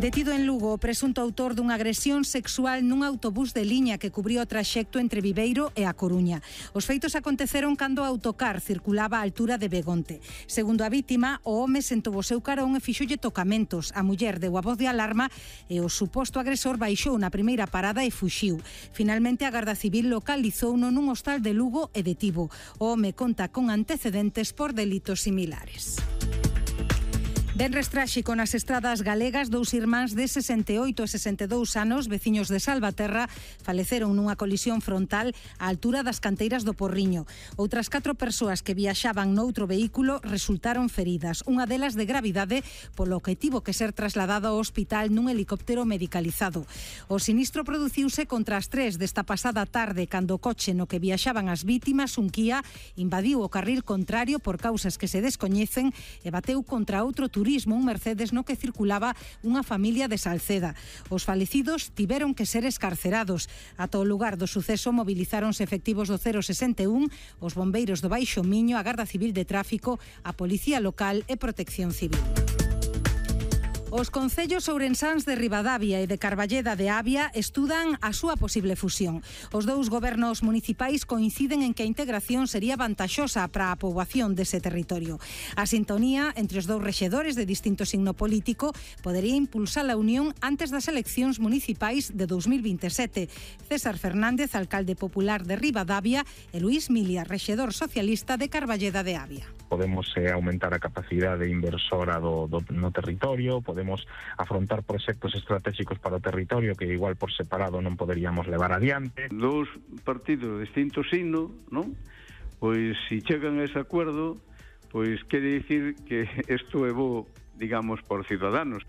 Detido en Lugo o presunto autor dunha agresión sexual nun autobús de liña que cubriu o traxecto entre Viveiro e A Coruña. Os feitos aconteceron cando o autocar circulaba á altura de Begonte. Segundo a vítima, o home sentou o seu carón e fixolle tocamentos. A muller deu a voz de alarma e o suposto agresor baixou na primeira parada e fuxiu. Finalmente, a Garda Civil localizouno nun hostal de Lugo e detivo. O home conta con antecedentes por delitos similares. Venres tráxico nas estradas galegas, dous irmáns de 68 e 62 anos, veciños de Salvaterra, faleceron nunha colisión frontal á altura das canteiras do Porriño. Outras 4 persoas que viaxaban noutro vehículo resultaron feridas, unha delas de gravidade, polo que tivo que ser trasladado ao hospital nun helicóptero medicalizado. O sinistro produciuse contra as 3 desta pasada tarde, cando o coche no que viaxaban as vítimas, un Kia, invadiu o carril contrario por causas que se descoñecen e bateu contra outro turismo, un Mercedes no que circulaba unha familia de Salceda. Os falecidos tiveron que ser escarcerados. Ata o lugar do suceso movilizáronse efectivos do 061, os bombeiros do Baixo Miño, a Garda Civil de Tráfico, a Policía Local e Protección Civil. Os concellos ourensáns de Ribadavia e de Carballeda de Avia estudan a súa posible fusión. Os dous gobernos municipais coinciden en que a integración sería vantaxosa para a poboación dese territorio. A sintonía entre os dous rexedores de distinto signo político podería impulsar a unión antes das eleccións municipais de 2027. César Fernández, alcalde popular de Ribadavia, e Luís Milia, rexedor socialista de Carballeda de Avia. Podemos aumentar a capacidade inversora no territorio, podemos afrontar proxectos estratégicos para o territorio que igual por separado non poderíamos levar adiante. Dous partidos de distinto signo, non? Pois se chegan a ese acordo, pois quere dicir que isto é bo, digamos, por Ciudadanos.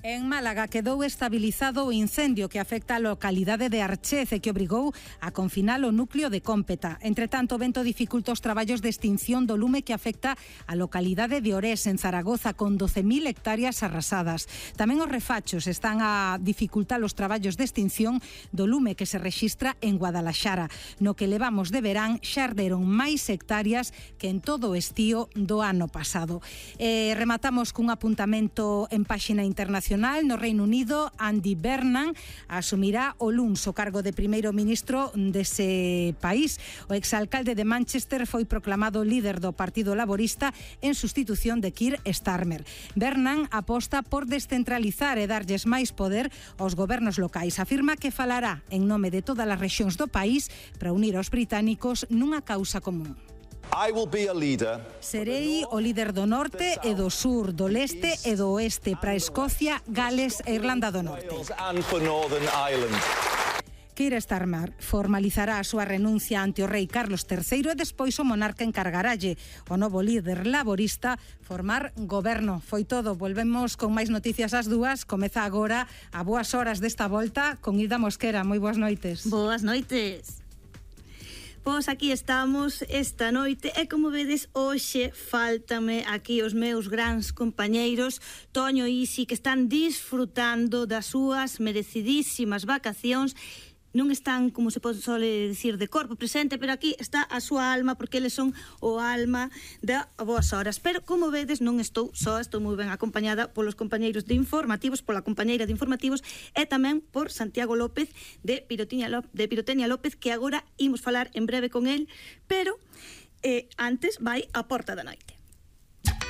En Málaga quedou estabilizado o incendio que afecta a localidade de Archez e que obrigou a confinar o núcleo de Cómpeta. Entre tanto, o vento dificulta os traballos de extinción do lume que afecta a localidade de Orés, en Zaragoza, con 12.000 hectáreas arrasadas. Tamén os refachos están a dificultar os traballos de extinción do lume que se rexistra en Guadalaxara. No que levamos de verán xa arderon máis hectáreas que en todo o estío do ano pasado. Rematamos cun apuntamento en páxina internacional. No Reino Unido, Andy Burnham asumirá o luns o cargo de primeiro ministro dese país. O exalcalde de Manchester foi proclamado líder do Partido Laborista en sustitución de Keir Starmer. Burnham aposta por descentralizar e darlles máis poder aos gobernos locais. Afirma que falará en nome de todas as rexións do país para unir aos británicos nunha causa común. Serei o líder do norte e do sur, do leste e do oeste para Escocia, Gales e Irlanda do Norte. Keir Starmer formalizará a súa renuncia ante o rei Carlos III e despois o monarca encargaralle o novo líder laborista formar goberno. Foi todo, volvemos con máis noticias ás 2. Comeza agora a boas horas desta volta con Hilda Mosquera. Moi boas noites. Boas noites. Pois aquí estamos esta noite e como vedes hoxe faltame aquí os meus grandes compañeiros Toño e Isi, que están disfrutando das súas merecidísimas vacacións. Non están, como se sole dicir, de corpo presente, pero aquí está a súa alma, porque eles son o alma da Boas Horas. Pero, como vedes, non estou só, estou moi ben acompañada polos compañeiros de informativos, pola compañeira de informativos, e tamén por Santiago López, de Pirotenia López, que agora imos falar en breve con el, pero antes vai a Porta da Noite.